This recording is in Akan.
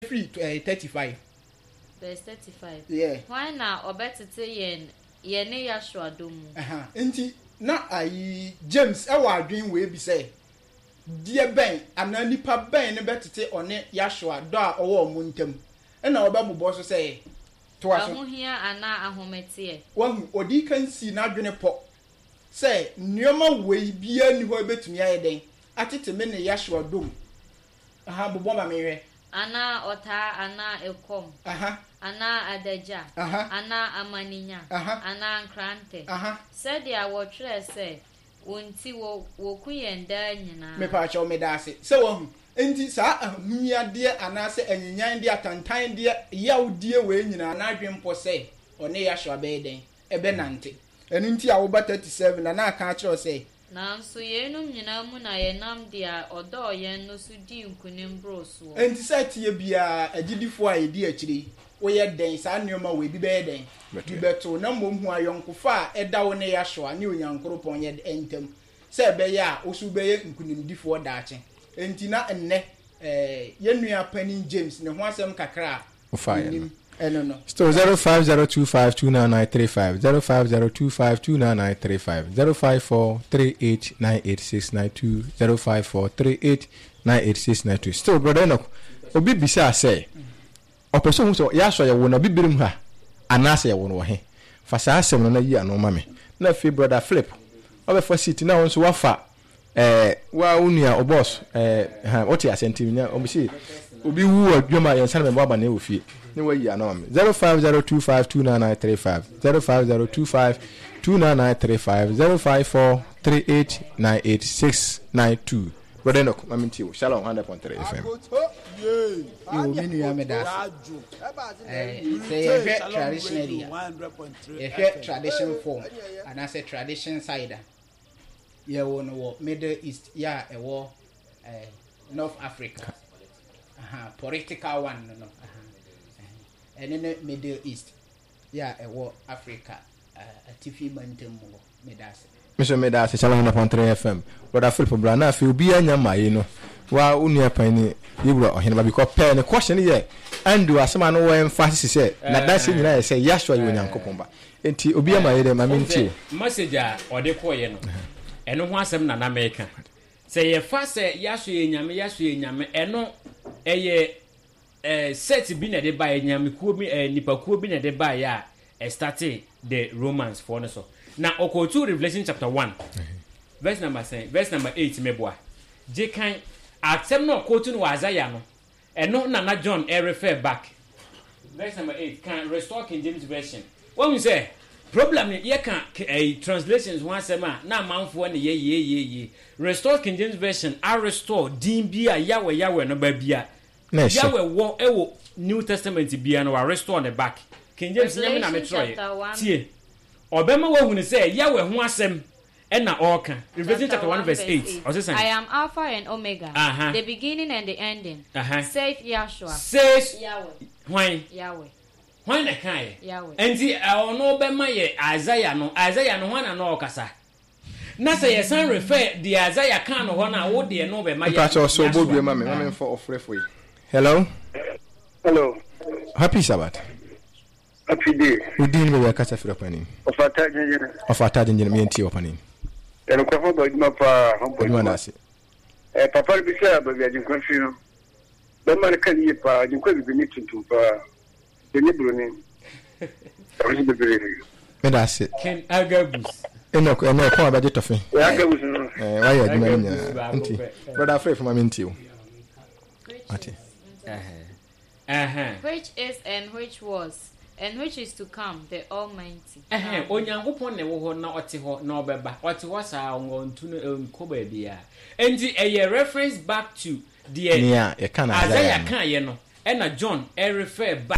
Firi eh, 35. Verse 35. Yeah. Hwan na ɔbɛtete yɛn yɛne Yahshua dɔ mu? Aha, nti na ayi James wɔ adwene wei bi sɛ, deɛ bɛn anaa nipa bɛn ne bɛtete ɔne Yahshua dɔ a ɔwɔ wɔn ntam? Ɛna ɔbɛbobɔ so sɛ, toa so. Ahohia anaa ahometeɛ? Wahu, ɔdii kan sii n'adwene pɔ sɛ nneɛma wei biara nni hɔ a ɛbɛtumi ayɛ dɛn atete me ne Yahshua dɔ mu. Aha, bobɔ ma menhwɛ. Anaa ɔtaa, anaa ɛkɔm, anaa adagya, anaa amanenya, anaa nkrantɛ, sɛdeɛ wɔtwerɛɛ sɛ, Wo nti wɔku yɛn daa nyinaa. Mepaakyɛw, meda ase sɛ woahu. Enti saa ahunyadeɛ anaasɛ anyinyandeɛ, atantandeɛ, yawdie wei nyinaa, n'adwene mpɔ sɛ ɔne Yahshua bɛyɛ dɛn? Ɛbɛnante. Ɛno nti a woba 37 na na aka akyerɛ wo sɛ. Nanso yeinom nyinaa mu na yɛnam deɛ ɔdɔɔ yɛn no so dii nkonim boroo soɔ. Enti sɛ ɛteɛ biara, agyidifoɔ a yɛdi akyire yi, woyɛ dɛn? Saa nneɛma wei, bi bɛyɛ dɛn? Bi bɛto wo. Na mmom hu ayɔnkofa a ɛda wo ne Yahshua ne Onyankoropɔn yɛ ntam, sɛ ɛbɛyɛ a wo nso wobɛyɛ nkonimdifoɔ daakye. Enti na nnɛ, eh, yɛn nua panin James ne ho asɛm kakra a Wofaeɛ no. menim ɛno no. Still 0502529935 0502529935 0543898692 0543898692 Still Brother Enoch, obi bisaa sɛ ɔpɛ sɛ ohu sɛ Yahshua yɛwoo no Abibirim ha anaasɛ yɛwoo no wɔ he? Fa saa asɛm no na yi ano ma me. Na afei Brother Philip, wabɛfa seat na wo nso woafa Eh, wa wo nua, wo boss, eh, ha, wote aseɛ nti nya, ɔmo se, obi wu wɔ dwom a yɛnsa no mɛbɔ abaneɛ wɔ fie, ne wayi ano ama me. 0502529935, 0502529935, 0543898692. Brother Enoch, ma mentie wo. Shalom 100.3 FM. Yo, me nua meda ase. Eh, sɛ yɛhwɛ traditionally a, yɛhwɛ tradition form anaasɛ tradition side a, Yɛwoo no wɔ Middle East yɛ a ɛwɔ eh, North Africa. Aha, political one no no. Aha, ɛne ne Middle East yɛ a ɛwɔ Africa eh, atifi mantam mu hɔ. Meda ase. Me nso meda ase Shalom 100.3 FM. Brother Philip bra na afei obiara nya mmaeɛ no wa wo nua pan ni yɛwura ɔhene ba because pɛɛ ne question yɛ Andrew asɛm a no wɔ emphasis sɛ n'adanseɛ nyinaa yɛ sɛ Yahshua yɛ Onyankopɔn ba. Enti obi ama yɛ dɛ ma Wohu mentie sɛ o. message a ɔde kɔeɛ no, ɛno ho asɛm na na meka. Sɛ yɛfa sɛ Yahshua yɛ Nyame, Yahshua yɛ Nyame, ɛno ɛyɛ eh, set bi na ɛde baeɛ, nyamekuo bi, eh, nipakuo bi na ɛde baeɛ a ɛstartee the Romans foɔ no so. Na ɔkɔɔtu Revelation chapter 1, verse number sɛn, verse number 8 meboa. Gye kan, asɛm no a ɔkɔɔtu no wɔ Isaiah no, Ɛno na na John refer back. Verse number 8, kan Restore King James Version. Wahu sɛ problem no yɛka ɛyi translations ho asɛm a na amanfoɔ ne yɛ yee yee yee. Restore King James Version a restore din bi a Yahweh Yahweh no baabi a Na ɛhyɛ. Yahweh wɔ ɛwɔ New Testament biara no wa restore ne back. King James nyɛ me na me Revelation twerɛeɛ. chapter 1 Tie. Ɔbɛma wahunu sɛ Yahweh ho asɛm Ɛna ɔreka, Revelation Chapter chapter 1 1 verse verse 8, 8, ɔse sɛn? I am Alpha and Omega, Aha. the beginning and the ending, Aha. saith Yahshua, Says Yahweh, hwan? Yahweh, Hwan na ɛkaeɛ? Yahweh. Enti ɔno bɛma yɛ Isaiah no, Isaiah no hwan na na ɔrekasa? Na sɛ yɛsan refer deɛ Isaiah kaa no hɔ no a, wo deɛ no bɛma yɛ Mpakyɛ ɔsɛ ɔbɔ dua Yahshua. ma me ma me nfa ɔfrɛfo yi. Hello. Hello. Happy Sabbath. Happy day. Wo din ne baabi a kasa firi ɔpanin. Ɔfata gyengyen. Ɔfata gyengyen me ntie ɔpanin. Ɛnokorɛ ho bɔ adwuma paa ho bɔ adwuma. Adwuma ase. Eh, papa no bisa baabi Agyenkwa firi no. Bɛma no ka no yie paa. Agyenkwa bibini tuntum paa. Ɔnyɛ buroni. Ɔno bebree. Meda ase. Ken Agabus. Enoch ɛnɛ ɛkɔn abɛgye tɔfe. Ɛ Agabus no. Ɛɛ wayɛ adwuma no Agabus nyinaa. baako Nti pɛ. brother Afrɛ fama me ntie o. Ate. Ɛhɛn. Which is and which was and which is to come, the Almighty. Ɛhɛn, Amen. Onyankopɔn na ɛwɔ hɔ na ɔte hɔ na ɔbɛba. Ɔte hɔ saa, ɔntu no ɔnkɔ baabiara. Enti ɛyɛ reference back to deɛ Nea yɛka no Isaiah Isaiah no. kaeɛ no, ɛna John refer back.